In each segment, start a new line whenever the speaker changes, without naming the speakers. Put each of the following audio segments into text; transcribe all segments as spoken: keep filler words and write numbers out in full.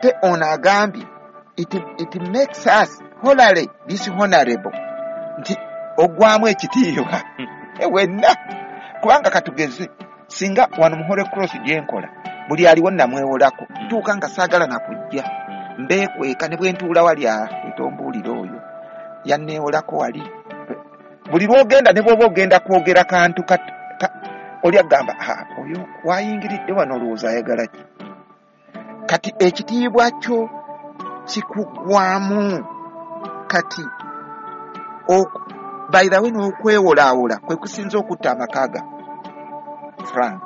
Ate ono agambye it, it makes us wholly dishonorable, nti ogwamu ekitiibwa wenna. Kubanga katugeze singa wano mu Holy Cross gyenkola buli aliwo namwewolako, tuuka nga saagala nakujja mbeekweka ne bwe ntuula wali etombuulira oyo yanneewolako wali. Buli lw'ogenda ne bw'oba ogenda kwogera kantu oli agamba oyo wayingiridde wano olowooza ayagala ki? Kati ekitiibwa kyo kikugwamu. Kati by the way n'okwewolaawola kwe kusinza okutta amaka ga Frank.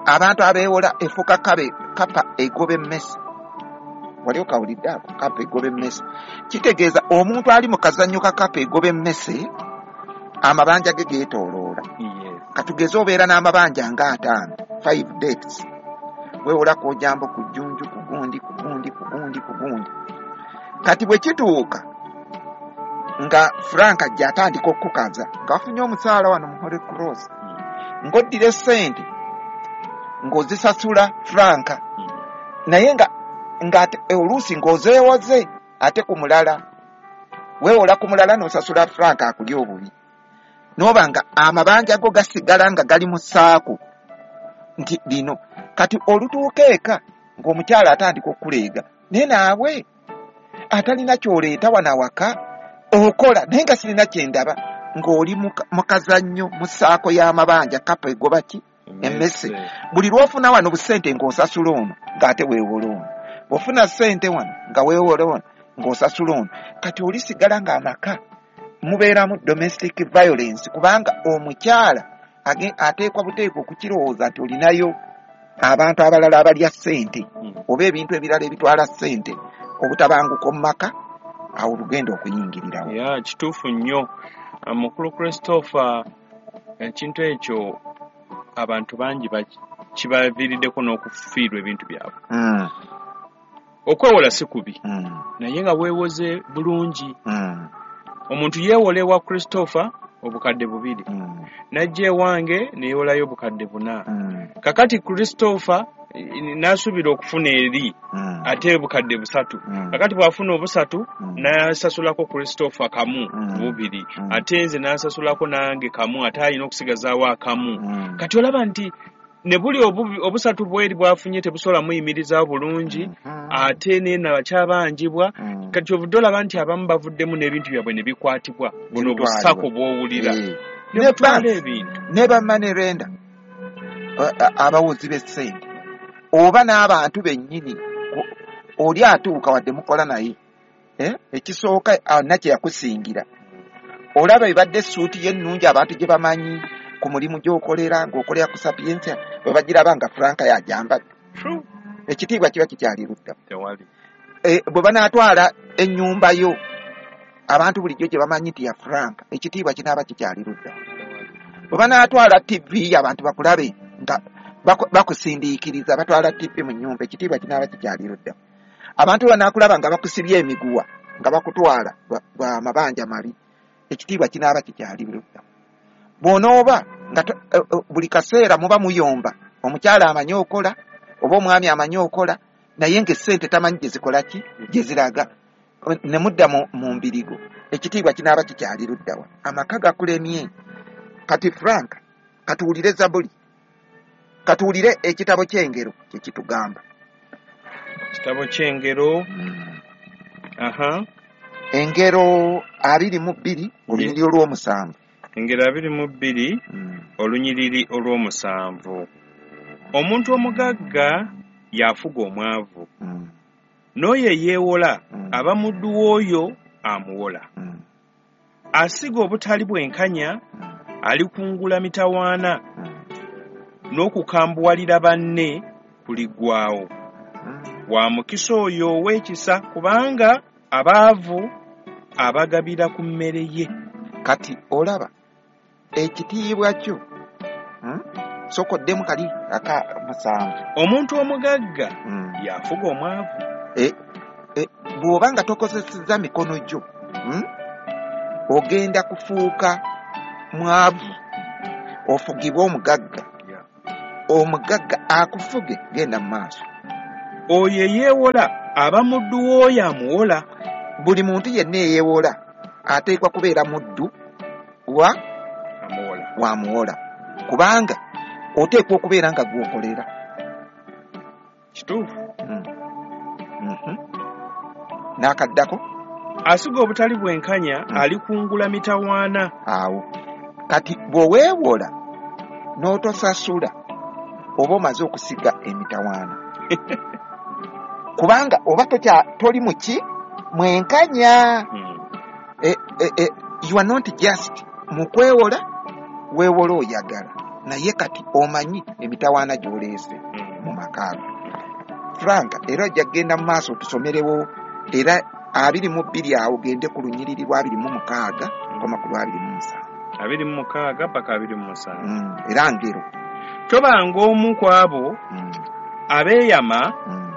Abantu abeewola efuuka kapa egoba emmese. Wali okawulidde ako kapa egoba emmese? Kitegeeza omuntu ali mu kazannyo ka kapa egoba emmese amabanja ge geetooloola. Katugeze obeera n'amabanja nga ataano, five debts. Weewola ku Ojambo, ku Jjunju, ku gundi, ku gundi, ku gundi, ku gundi. Kati bwe kituuka nga Frank ajja atandika okukaza ng'afunye omusaala wano mu Holy Cross, ng'oddira essente ng'ozisasula Frank, naye nga nga oluusi ng'ozeewoze ate ku mulala, weewola ku mulala n'osasula Frank akulya obubi, n'oba nga amabanja go gasigala nga gali mu ssaako nti lino. Kati olutuuka eka ng'omukyala atandika okuleega, naye naawe atalina ky'oleeta wano awaka okola naye nga sirina kye ndaba, ng'oli mu kazannyo mu ssaako y'amabanja kapa egoba ki? Emmese. Buli lw'ofuna wano busente ng'osasula ono ng'ate weewola ono, bw'ofuna ssente wano nga weewola ono ng'osasula ono. Kati olisigala ng'amaka mubeeramu domestic violence, kubanga omukyala ateekwa buteekwa okukirowooza nti olinayo abantu abalala abalya ssente oba ebintu ebirala ebitwala ssente, obutabanguko mu maka awo lugenda okuyingirirawo.
Ya kituufu nnyo Mukulu Christopher, ekintu ekyo abantu bangi kibaviiriddeko n'okufiirwa ebintu byabwe.
Mm.
Okwewola si kubi,
mm.
naye nga weewoze bulungi.
Mm.
Omuntu yeewola ewa Christopher obukadde bubiri,
mm.
n'ajja ewange neyeewolayo obukadde buna.
Mm.
Kakati Christopher n'asuubira okufuna eri
mm.
ate obukadde busatu.
Mm.
Kakati bw'afuna obusatu
mm.
n'asasulako Christopher kamu
mm.
bubiri,
mm.
ate nze n'asasulako nange kamu, ate alina okusigazaawo akamu.
Mm.
Kati olaba nti ne buli obusatu bweri bw'afunye tebusobola muyimirizaawo bulungi,
mm.
ate nena bakyabanjibwa.
Mm.
Kati ovudde olaba nti abamu bavuddemu n'ebintu byabwe ne bikwatibwa, buno busako bw'owulira
mm.
ne butwala ebintu
ne ba money lender abawozi b'essente oba n'abantu bennyini. Oli atuuka wadde mukola naye ekisooka nakye yakusingira, olaba ebadde essuuti ye ennungi abantu gye bamanyi ku mulimu gy'okolera ng'okolera ku Sapientia, bwe bagiraba nga Frank yajambadde, ekitiibwa kiba kikyali ludda. Bwe banaatwala ennyumba yo abantu bulijjo gye bamanyi nti ya Frank, ekitiibwa kinaaba kikyali ludda. Bwe banaatwala T V abantu bakulabe nga bakusindiikiriza, batwala T V mu nnyumba, ekitiibwa kinaaba kikyali ludda. Abantu banaakulaba nga bakusibye emiguwa nga bakutwala bwa mabanja mabi, ekitiibwa kinaaba kikyali ludda. Bw'onooba nga buli kaseera muba muyomba, omukyala amanyi okola oba omwami amanyi okola, naye ng'essente tamanyi gye zikola ki, gye ziraga, ne mudda mu mbirigo, ekitiibwa kinaaba kikyali luddawa. Amaka gakulemye. Kati Frank, katuwulire Zabuli, katuwulire ekitabo ky'Engero kye kitugamba.
Kitabo ky'Engero.
Mm.
Aha.
Engero abiri mu bbiri olunyiriri olw'omusanvu.
Engero abiri mu bbiri
mm.
olunyiriri olw'omusanvu. Omuntu omugagga y'afuga omwavu,
mm.
n'oyo eyeewola
mm.
aba muddu w'oyo amuwola.
Mm.
Asiga obutali bwenkanya
mm.
alikungula mitawaana,
mm.
n'okukambuwalira banne kuliggwaawo.
Mm.
Wa mukisa oyo ow'ekisa, kubanga abaavu abagabira ku mmere ye.
Kati olaba ekitiibwa kyo hmm? Sokoddemu kali aka musanvu.
Omuntu omugagga
mm.
y'afuga omwavu.
E, e, bw'oba nga tokozesezza mikono gyo hmm? ogenda kufuuka mwavu, ofugibwe omugagga.
Yeah.
Omugagga akufuge, genda mu maaso.
Oyo eyeewola aba muddu w'oyo amuwola.
Buli muntu yenna eyeewola ateekwa kubeera muddu wa
amuwola,
wamuwola, kubanga oteekwa okubeera nga gw'okolera.
Kituufu.
Mm. Mm-hmm. N'akaddako,
asiga obutali bwenkanya
Mm.
alikungula mitawaana.
Awo kati bw'oweewola n'otosasula oba omaze okusiga emitawaana, kubanga oba tokya toli muki mwenkanya.
Mm.
e, e, e, you are not just mu kwewola, weewola oyagala, naye kati omanyi emitawaana gy'oleese
Mm.
mu maka go. Frank, era ojja kugenda mu maaso otusomerewo era abiri mu bbiri awo, gende ku lunyiriri lwa abiri mu mukaaga koma ku lwa abiri mu musanvu.
Abiri mu mukaaga paka abiri mu musanvu.
Mm, era ngero.
Tobanga omu ku abo
Mm,
abeeyama
mm,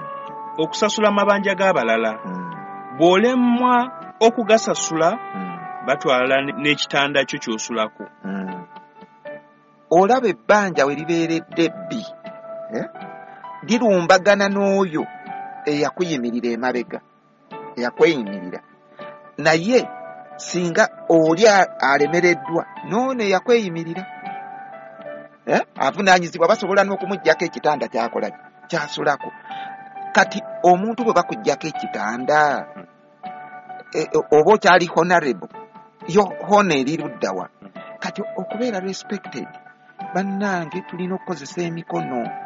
okusasula amabanja g'abalala.
mm,
Bw'olemwa okugasasula,
mm,
batwala n'ekitanda kyo ky'osulako.
mm. Olaba ebbanja we libeeredde ebbi, eh? Lirumbagana n'oyo eyakuyimirira emabega, eyakweyimirira, naye singa oli a- alemereddwa n'ono eyakweyimirira, eh? Avunaanyizibwa, basobola n'okumuggyako ekitanda kyakola kyasulako. Kati omuntu bwe bakuggyako ekitanda, e, e, oba okyali honorable, yo hono eri luddawa? Kati okubeera respected, bannange, tulina okukozesa emikono.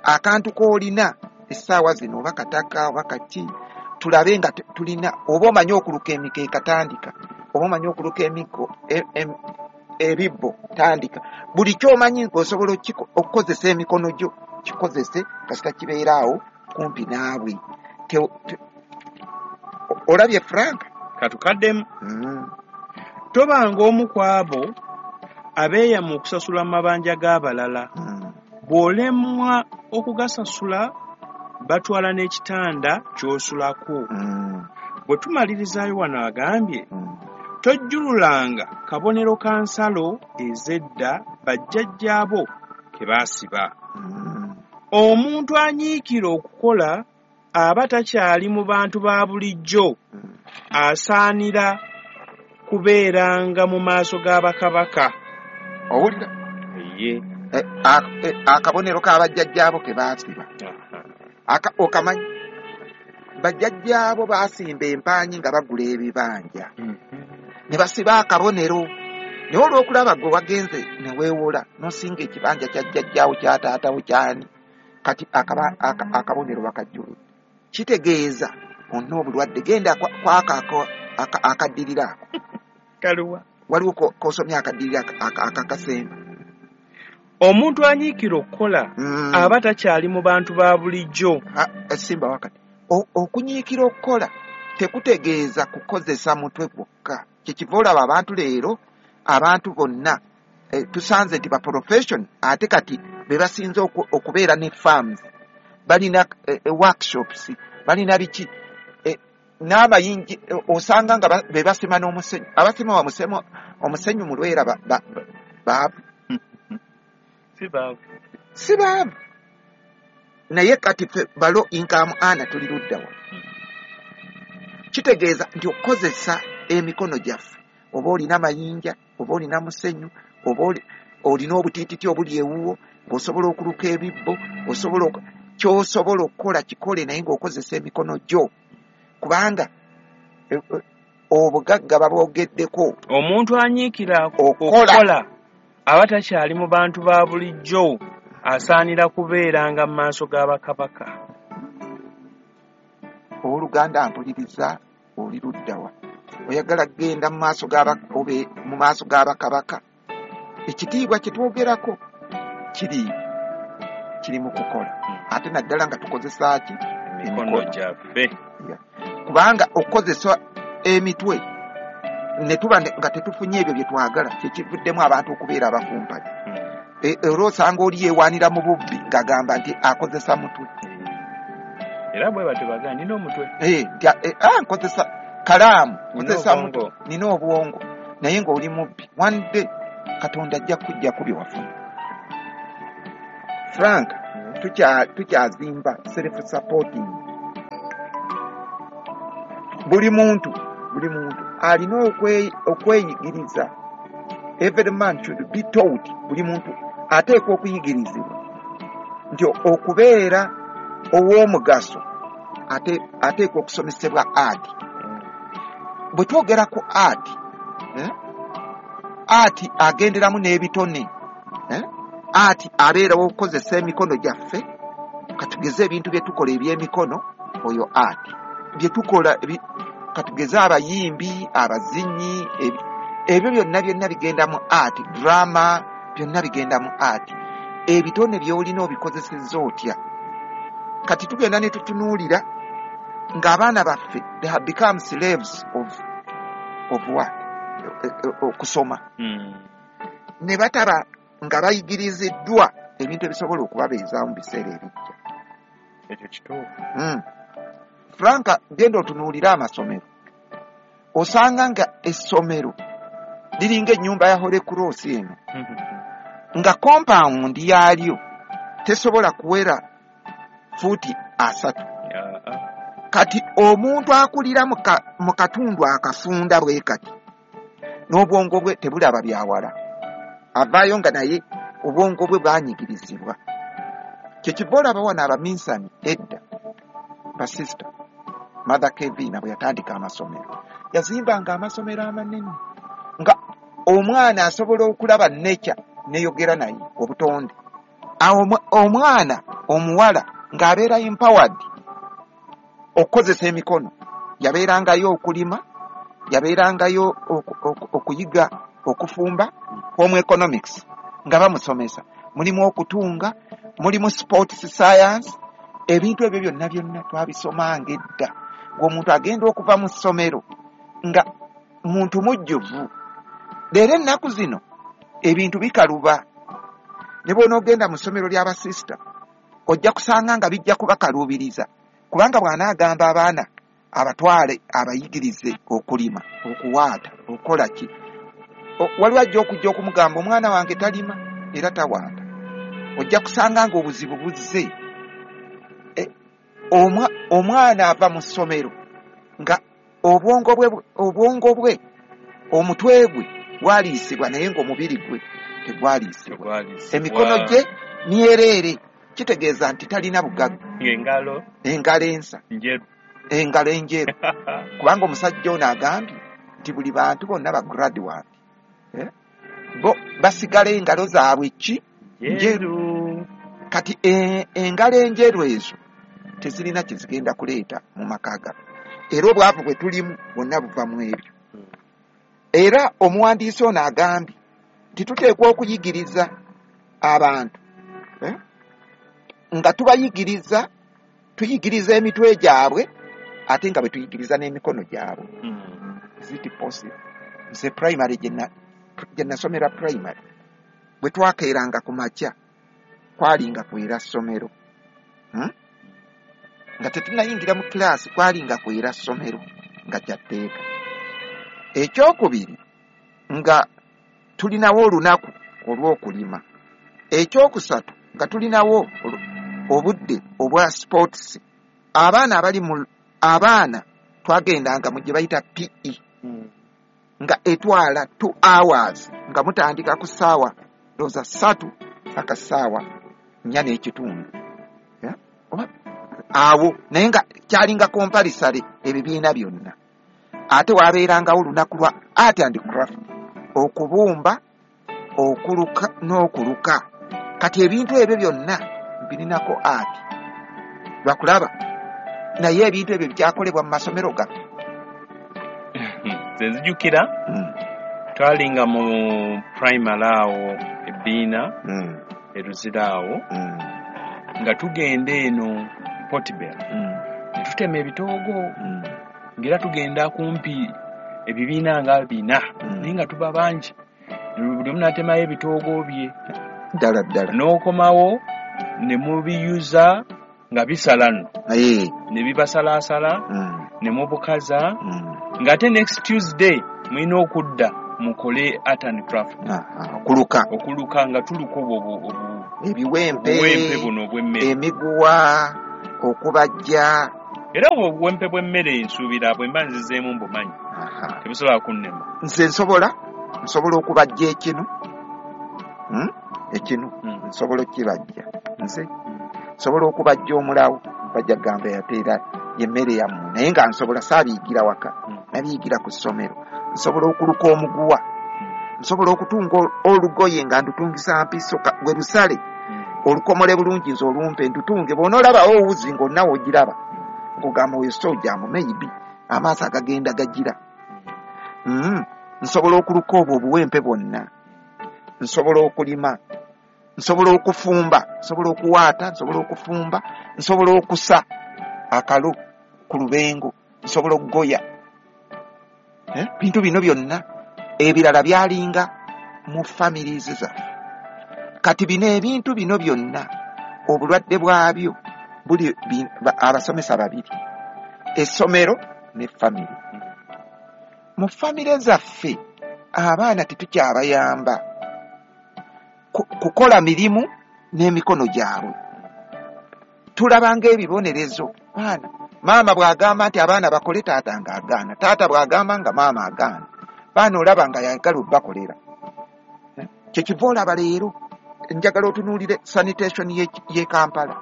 Akantu k'olina essaawa zino, oba kataka oba kaki, tulabe nga tu- tulina, oba omanyi okuluka emikeeka, tandika, oba omanyi okuluka emiggo, e- em- ebibbo, tandika. Buli kyomanyi ng'osobola okiko- okukozesa emikono gyo, kikozese, kasita kibeera awo kumpi naawe. Te- te- olabye Frank?
Katukaddemu.
Mm.
Tobanga omu ku abo abeeyama okusasula amabanja g'abalala.
Mm.
Bw'olemwa okugasasula, batwala n'ekitanda ky'osulako.
Mm.
Bwe tumalirizaayo wano agambye,
Mm.
tojjululanga kabonero ka nsalo ez'edda bajjajjaabo ke baasiba.
Mm.
Omuntu anyiikira okukola aba takyali mu bantu ba bulijjo,
Mm.
asaanira kubeeranga mu maaso ga bakabaka.
Owulira?
Ye.
Eh, a- eh, akabonero k'abajjajjaabo ke baasiba. Aka- okamanyi bajjajjaabo baasimba empaanyi nga bagula ebibanja ne basiba akabonero, naye olw'okulaba gwe wagenze ne weewola n'osinga ekibanja kya jjajjaawo, kya taatawo, kyani, kati akaba- aka- akabonero bakajjuludde, kitegeeza onna obulwadde. Genda kwa- kwako ako- aka- akaddirira ako.
Kaluwa.
Waliwo ko- k'osomye akaddirira aka- aka- akakasemba.
Omuntu anyiikira okukola
Mm.
aba takyali mu bantu ba bulijjo.
Ah, simba wakati. O- okunyiikira okukola tekutegeeza kukozesa mutwe gwokka. Kyekiva olaba abantu leero, abantu bonna, eh, tusanze nti ba profession ate kati be basinze oku- okubeera ne farms, balina eh, eh, workshops, balina biki, eh, n'amayinji, eh, osanga nga ba- be basima n'omusenyu. Abasima wa musemo omusenyu mu Lwera ba- ba- baavu?
Si baavu.
Si baavu, naye kati ffe ba low income ana tuli luddawa? Kitegeeza nti okukozesa emikono gyaffe, oba olina mayinja, oba olina musenyu, oba oli- olina obutiititi obuli ewuwo ng'osobola okuluka ebibbo, osobola oku- ky'osobola okukola kikole, naye ng'okozesa emikono gyo, kubanga eh, eh, obugagga babwogeddeko.
Omuntu anyiikira
Okukola.
okukola aba takyali mu bantu ba bulijjo, asaanira kubeeranga mu maaso ga bakabaka.
Owooluganda mpuliriza, oli luddawa? Oyagala kugenda mu maaso g'aba- obe mu maaso g'abakabaka? Ekitiibwa kye twogerako kiri kiri mu kukola, ate naddala nga tukozesa ki?
Emikono gyaffe.
Kubanga okukozesa emitwe ne tuba ne- nga tetufunye ebyo bye twagala, kyekivuddemu abantu okubeera abakumpanya. E- era osanga oli yeewaanira mu bubbi ng'agamba nti akozesa mutwe.
Era bwe batyo bagamba, nina omutwe.
Eh, nti a- eh, ah, nkozesa kalaamu,
Nina
nkozesa mutwe,
obwongo.
nina obwongo, naye ng'oli mubbi. One day Katonda ajja kujjako bye wafuna. Frank. Tukyazimba self supporting. Buli muntu buli muntu alina okweyigiriza. Every man should be taught. Buli muntu ateekwa okuyigirizibwa nti okubeera ow'omugaso ateekwa okusomesebwa art. Bwe twogera ku art, eh? Art agenderamu n'ebitone, eh? Art abeerawo okukozesa emikono gyaffe. Katugeze ebintu bye tukola eby'emikono, oyo art. Bye tukola, katugeze abayimbi, abazinyi, ebyo byonna byonna bigenda mu art, drama byonna bigenda mu art. Ebitone by'olina obikozesezza otya? Kati tugenda ne tutunuulira ng'abaana baffe they have become slaves of, of what? Okusoma.
Mm.
Ne bataba nga bayigiriziddwa ebintu ebisobola okubabeezaawo mu biseera ebijja.
Ekyo kituufu.
Mm. Franka, genda otunuulire amasomero. Osanga nga essomero liringa ennyumba ya Holy Cross eno. Nga compound yaalyo tesobola kuwera fuuti asatu. Kati omuntu akulira mu katundu akafunda bwe kati n'obwongo bwe tebulaba byawala. Avaayo nga naye obwongo bwe bwanyigirizibwa. Kyekiva olaba wano abaminsani edda, basista Mother Kevin bwe yatandika amasomero, yazimbanga amasomero amanene nga omwana asobola okulaba nature neyogera naye obutonde. Awo omwana omuwala ng'abeera empowered okukozesa emikono, yabeerangayo okulima, yabeerangayo okuyiga okufumba, home economics nga bamusomesa, mulimu okutunga, mulimu sports science. Ebintu ebyo byonna byonna twabisomanga edda, ng'omuntu agenda okuva mu ssomero nga muntu mujjuvu. Leero ennaku zino ebintu bikaluba. Ne bw'onoogenda mu ssomero ly'abasisita ojja kusanga nga bijja kubakaluubiriza, kubanga bw'anaagamba abaana abatwale abayigirize okulima, okuwaata, okukola ki, waliwo ajja okujja okumugamba omwana wange talima era tawaata. Ojja kusanga ng'obuzibu buzze. Omwana ava mu ssomero nga obwongo bwe obwongo bwe omutwe gwe gwaliisibwa naye ng'omubiri gwe tegwaliisibwa, emikono gye myereere. Kitegeeza nti talina bugagga,
engalo
engalo ensa
njeru,
engalo enjeru. Kubanga omusajja ono agambye nti buli bantu bonna ba graduate, eh? Bo basigala engalo zaabwe ki njeru. Kati engalo enjeru ezo tezirina kye zigenda kuleeta mu maka gaffe, era obwavu bwe tulimu bwonna buva mu ebyo. Era omuwandiisi ono agambye nti tuteekwa okuyigiriza abantu, eh? Nga tubayigiriza, tuyigiriza emitwe gyabwe ate nga bwe tuyigiriza n'emikono gyabwe.
Mm.
Is it possible? Nze primary gye nasomera primary bwe twakeeranga ku makya kwalinga kwera ssomero, hmm? Nga tetunnayingira mu kilaasi kwalinga kwera ssomero nga kyatteeka. Ekyokubiri nga tulinawo olunaku olw'okulima. Ekyokusatu nga tulinawo obudde obwa sports. Abaana abali mu abaana twagendanga mu gye bayita P E, nga etwala two hours, nga mutandika ku ssaawa ndowooza ssatu paka ssaawa nnya n'ekitundu, yeah? Oba awo, naye nga kyalinga compulsory ebibiina byonna. Ate wabeerangawo olunaku lwa art and craft, okubumba, okuluka n'okuluka. Kati ebintu ebyo byonna birinako art lwakulaba, naye ebintu ebyo bikyakolebwa mu masomero gaffe.
Nze nzijukira twalinga mu primary awo ebbiina eruzira awo, nga tugenda eno Portbell ne tutema ebitoogo, ng'era tugenda kumpi ebibiina nga bina, naye nga tuba bangi, buli omu n'atemayo ebitoogo bye
ddala ddala,
n'okomawo ne mubiyuza nga bisala nno, ne bibasalaasala ne mubukaza, ng'ate next Tuesday mulina okudda mukole art and craft,
okuluka
okuluka nga tuluka obwo
Ebiwempe,
Obuwempe buno obw'emmere,
emiguwa, okubajja.
Era obwo obuwempe bw'emmere nsuubira bwe mba nzizeemu mbumanyi,
Aha.
tebusobola kunnema.
Nze nsobola nsobola okubajja ekinu, Hmm? Ekinu
Mm.
nsobola okukibajja. Nze nsobola okubajja omulawo, bajja kugamba yateera yemmere yammwe, naye nga nsobola, saabiyigira waka,
Mm.
nabiyigira ku ssomero. Nsobola okuluka omuguwa, nsobola okutunga ol-, olugoye nga ndutungisa mpiso ka-, gwe lusale,
Mm.
olukomole bulungi, nze olumpe ndutunge. Bw'onoolabawo owuzi ng'onnawe ogiraba, nkugamba oyo sojjamu, maybe amaaso agagenda gagira. Mm. Nsobola okuluka obwo obuwempe bwonna, nsobola okulima, nsobola okufumba, nsobola okuwaata, nsobola okufumba, nsobola okusa akalo ku lubengo, nsobola okugoya. Eh? Bintu bino byonna ebirala byalinga mu families zaffe. Kati bino ebintu bino byonna obulwadde bwabyo buli bi-, ba-, abasomesa babiri, essomero ne family. Mu family zaffe abaana tetukyabayamba ku-, kukola mirimu n'emikono gyabwe. Tulaba ng'ebibonerezo. Baana, maama bw'agamba nti abaana bakole, taata ng'agaana, taata bw'agamba nga maama agaana, baana olaba nga yagala obbakolera. Eh? Kyekiva olaba leero njagala otunuulire sanitation ye, ye Kampala,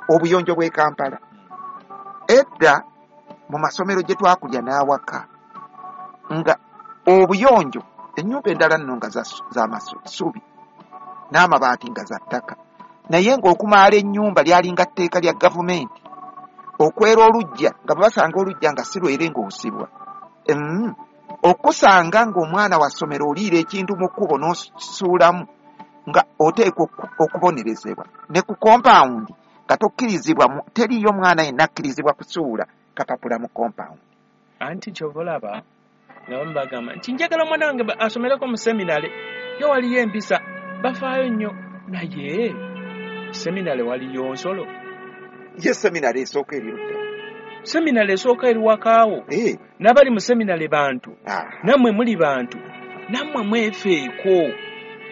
obuyonjo bw'e Kampala. Edda mu masomero gye twakulya n'awaka nga obuyonjo, ennyumba endala nno nga za, za masubi n'amabaati nga za ttaka, naye ng'okumaala ennyumba lyalinga tteeka lya gavumenti. Okwera oluggya nga bwe basanga oluggya nga si lwere ng'osibwa. Mm. Okusanga ng'omwana wa ssomero oliira ekintu mu kkubo n'osuulamu nga oteekwa oku-, okubonerezebwa. Ne ku compound nga tokkirizibwa mu-, teriiyo mwana yenna akkirizibwa kusuula kapapula mu compound.
Anti ky'ova olaba nga bamu bagamba nti njagala omwana wange ba-, asomereko mu seminary, yo waliyo empisa, bafaayo nnyo, naye seminary waliyo nsolo.
Ye seminary esooka eri ludda.
Seminary esooka eri wakaawo.
Eh.
N'abali mu seminary bantu.
Ah.
Nammwe muli bantu. Nammwe mwefeeko.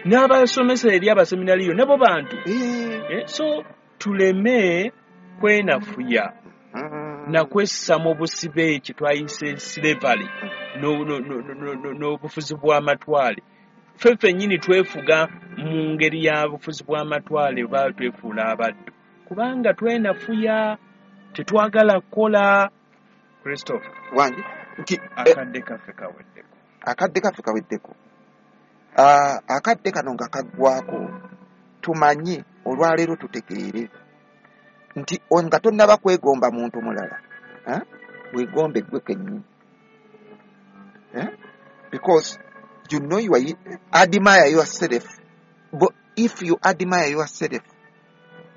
N'abasomesa eri abaseminariyo nabo bantu.
Eh.
Eh, so tuleme kwenafuya.
Mm.
Na kwessa mu busibe kye twayise slavery, no, no, no, no, no, no, n'obufuzi bw'amatwale. Ffe ffennyini twefuga mu ngeri ya bufuzi bw'amatwale oba twefuula abaddu. Kubanga twenafuya, tetwagala kukola. Christopher.
Wange, nti, eh,
akadde kaffe kaweddeko.
Akadde kaffe kaweddeko. Ah, akadde kano nga kaggwako, tumanye olwaleero tutegeere nti o-, nga tonnaba kwegomba muntu mulala, eh? Weegombe ggwe kennyini. Eh? Because you know you are, admire yourself. But if you admire yourself,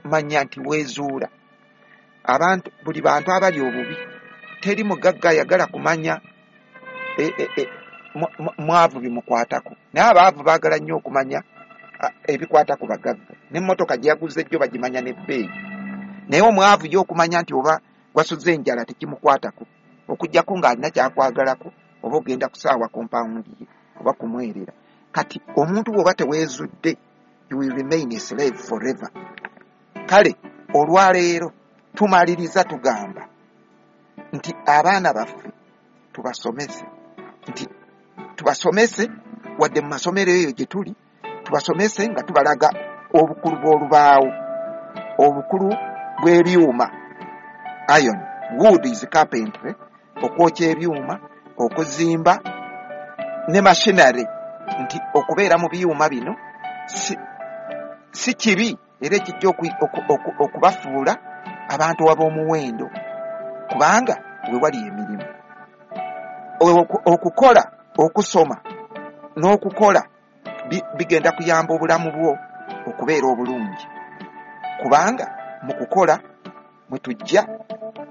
manya nti weezuula. Abantu, buli bantu abali obubi, teri mugagga ayagala kumanya, e, e, e, mu-, mu-, mwavu bimukwatako. Naye abaavu baagala nnyo okumanya, a, ebikwata ku bagagga. N'emmotoka gye yaguze jjo bagimanya n'ebbeeyi. Naye omwavu ye okumanya nti oba wasuze enjala tekimukwatako, okuggyako ng'alina ky'akwagalako, oba ogenda kusaawa kompawundi ye oba kumwerera. Kati omuntu bw'oba teweezudde, you will remain a slave forever. Kale olwaleero tumaliriza tugamba nti abaana baffe tubasomese, nti tubasomese wadde mu masomero eyo gye tuli, tubasomese nga tubalaga obukulu bw'olubaawo, obukulu bw'ebyuma. Iron, wood is carpentry, okwokya ebyuma, okuzimba ne machinery, nti okubeera mu byuma bino si, si kibi, era ekijja oku-, oku-, oku-, okubafuula abantu ab'omuwendo, kubanga we wali emirimu. Oku-, okukola, okusoma n'okukola bi-, bigenda kuyamba obulamu bwo okubeera obulungi, kubanga mu kukola mwe tujja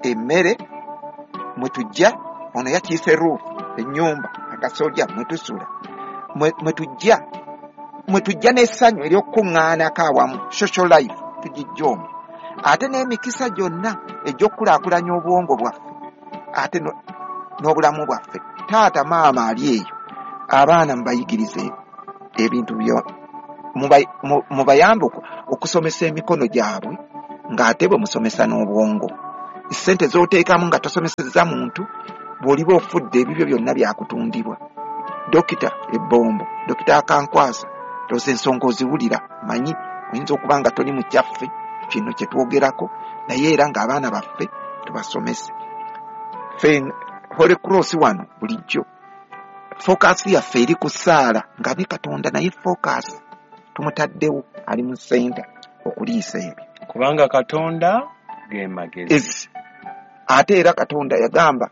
emmere, mwe tujja ono yakiise roof, ennyumba, akasolya mwe tusula, mwe, mwe tujja, mwe tujja n'essanyu ery'okukuŋŋaanako awamu, social life tugijja omwo, ate n'emikisa gyonna egy'okukulaakulanya obwongo bwaffe ate no-, n'obulamu bwaffe. Taata maama ali eyo, abaana mubayigirize ebintu byo-, Mubayambe okusomesa emikono gyabwe ng'ate bwe musomesa n'obwongo. Essente z'oteekamu nga tosomesezza muntu, bw'oliba ofudde ebibyo byonna byakutundibwa. Dokita Ebbombo, Dokita Akankwasa, tosa ensonga oziwulira, manyi oyinza okuba nga toli mu kyaffe kino kye twogerako, naye era ng'abaana baffe tubasomese. Ffe Holy Cross wano bulijjo focus yaffe eri ku ssaala, nga ne Katonda naye focus tumutaddewo, ali mu center okuliisa ebyo.
Kubanga Katonda ge magezi.
Ate era Katonda yagamba,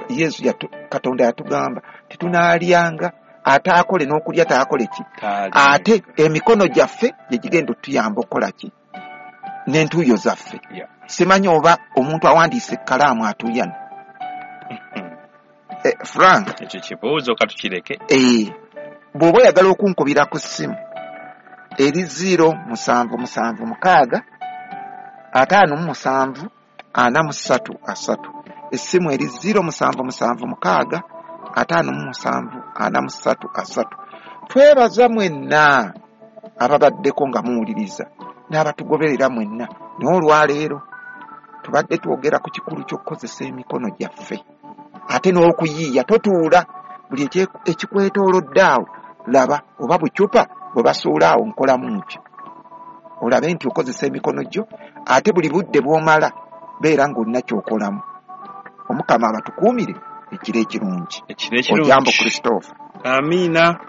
Yesu yatu, Katonda yatugamba tetunaalyanga ate akole n'okulya taakole ki, ate emikono gyaffe gye gigenda otuyamba okukola ki n'entuuyo zaffe.
Yeah.
Simanyi oba omuntu awandiise ekkalaamu atuuyana. Eh, Frank,
ekyo kibuuzo katukireke.
Eh, bw'oba oyagala okunkubira ku ssimu eri zero musanvu musanvu mukaaga ataano mu musanvu ana mu ssatu asatu. Essimu eri zero musanvu musanvu mukaaga ataano mu musanvu ana mu ssatu asatu. Twebaza mwenna ababaddeko nga muwuliriza n'abatugoberera mwenna. Naye olwaleero tubadde twogera ku kikulu ky'okukozesa emikono gyaffe ate n'okuyiiya. Totuula, buli ekikwetoolodde awo laba oba bucupa bwe basuula awo nkolamu ntyo, olabe nti okozesa emikono gyo, ate buli budde bw'omala beera ng'olina ky'okolamu. Omukama abatukuumire ekiro ekirungi.
Ekiro ekirungi.
Ojambo Christopher.
Amiina.